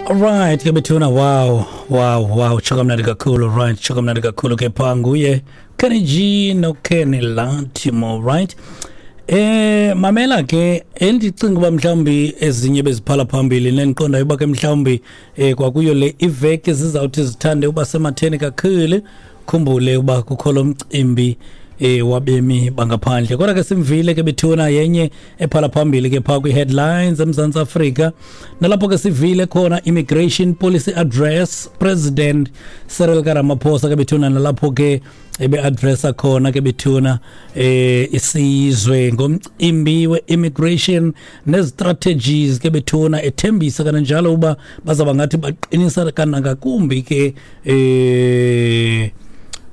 Alright ke bethuna, wow, tsho kamnandi kakhulu. Right, tsho kamnandi kakhulu ke phaa nguye Kenny G no Kenny Latimo, right? Mamela ke, endicinga uba mhlawumbi ezinye beziphala phambili nendiqondayo uba ke mhlawumbi kwakuyo le iveki zizawuthi zithande uba sematheni kakhulu. Khumbule uba kukho lo mcimbi wabemi bangaphandle, kodwa ke simvile ke bethuna yenye ephala phambili ke phaa kwi-headlines eMzantsi Afrika, nalapho ke sivile khona immigration policy address, President Cyril Ramaphosa ke bethuna, nalapho ke ebe-addressa khona ke bethuna isizwe ngomcimbi we-immigration nezi-strategies ke bethuna, ethembisa kananjalo uba bazawuba ngathi baqinisa kanangakumbi ke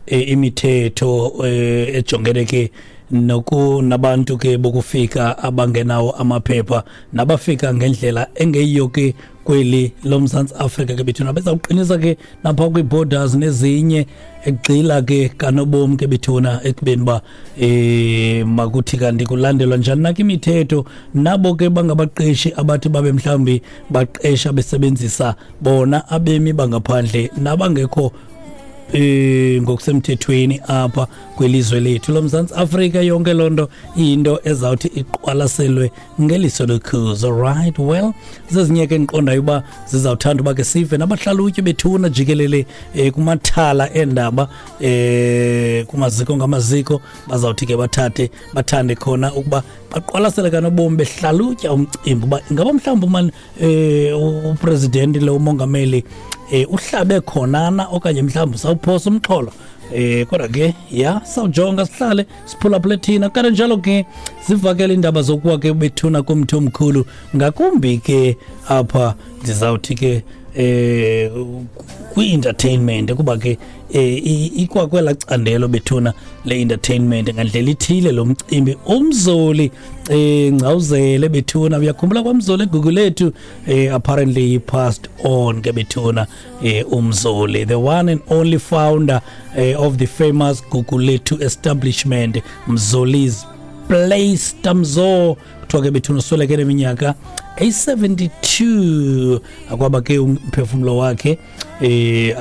imithetho ejongene ke noku nabantu ke bokufika abangenawo amaphepha nabafika ngendlela engeyiyo ke kweli loMzantsi Afrika ke bethuna. Bezawuqinisa ke napha kwii-borders nezinye, egxila ke kanobomi ke bethuna ekubeni uba makuthi kanti kulandelwa njani na ke imithetho, nabo ke bangabaqeshi abathi babe mhlawumbi baqesha besebenzisa bona abemi bangaphandle nabangekho ngokusemthethweni apha kwelizwe lethu loMzantsi Afrika. Yonke loo nto iyinto ezawuthi iqwalaselwe ngeliso lokhuzo. Right, well, zezinye ke endiqondayo uba zizawuthanda uba ke sive nabahlalutyi bethuna jikelele kumathala eendaba, kumaziko ngamaziko, bazawuthi ke bathathe bathande khona ukuba baqwalasele kanobomi behlalutya umcimbi uba ingaba mhlawumbi umane upresident lo, umongameli, uhlabe khonana okanye mhlawumbi sawuphosa umxholo. Kodwa ke ya, sawujonga, sihlale siphulaphule thina. Kanti njalo ke zivakele iindaba zokuwa ke bethuna kumthi omkhulu, ngakumbi ke apha ndizawuthi ke kwi-entertainment, kuba ke ikwakwela candelo bethuna le-entertainment ngandlela ithile lo mcimbi. Umzoli Ngcawuzele bethuna, uyakhumbula kwaMzoli eGugulethu, apparently he passed on ke bethuna. Umzoli, the one and only founder of the famous Gugulethu establishment, Mzoli's Place, Tamzo kuthiwa ke bethuna usweleke neminyaka eyi-72. Akwaba ke umphefumlo wakhe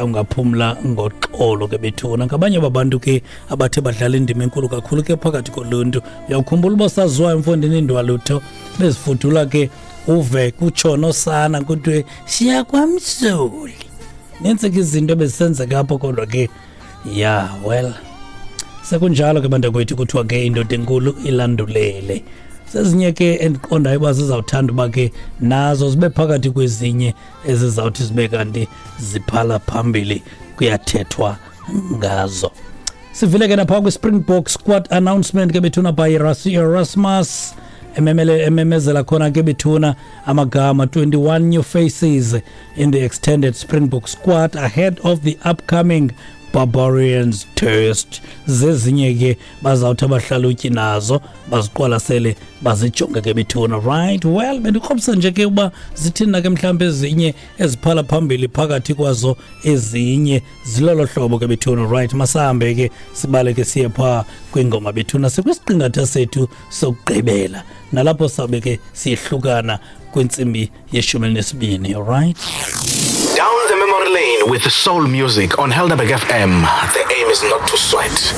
ungaphumla ngoxolo ke bethuna. Ngabanye babantu ke abathe badlala indima enkulu kakhulu ke phakathi koluntu. Uyawukhumbula uba saziwayo mfondini indwalutho bezifudula ke, uve kutsho nosana kuthiwe siya kwaMzoli. Nintsi ke izinto ebezisenzeka apho, kodwa ke ya, well, sekunjalo ke bantakwethu, kuthiwa ke indoda enkulu ilandulele. Zezinye ke endiqondayo uba zizawuthanda uba ke nazo zibe phakathi kwezinye ezizawuthi zibe kanti ziphala phambili kuyathethwa ngazo. Sivile ke napha kwi-Springbok squad announcement ke bethuna by Erasmus, ememele ememezela khona ke bethuna amagama, 21 new faces in the extended Springbok squad ahead of the upcoming Barbarians Test. Zezinye ke bazawuthi abahlalutyi nazo baziqwalasele, bazijonge ke bethuna. Right, well, bendikrobisa nje ke uba zithini na ke mhlawumbi ezinye eziphala phambili phakathi kwazo ezinye, zilolo hlobo ke bethuna. Right, masahambe ke sibaleke siye phaa kwingoma bethuna, sikwisiqingatha sethu sokugqibela, nalapho sawube ke siyehlukana kwintsimbi yeshumi elinesibini. Alright. Down the memory lane with soul music on Helderberg FM. The aim is not to sweat.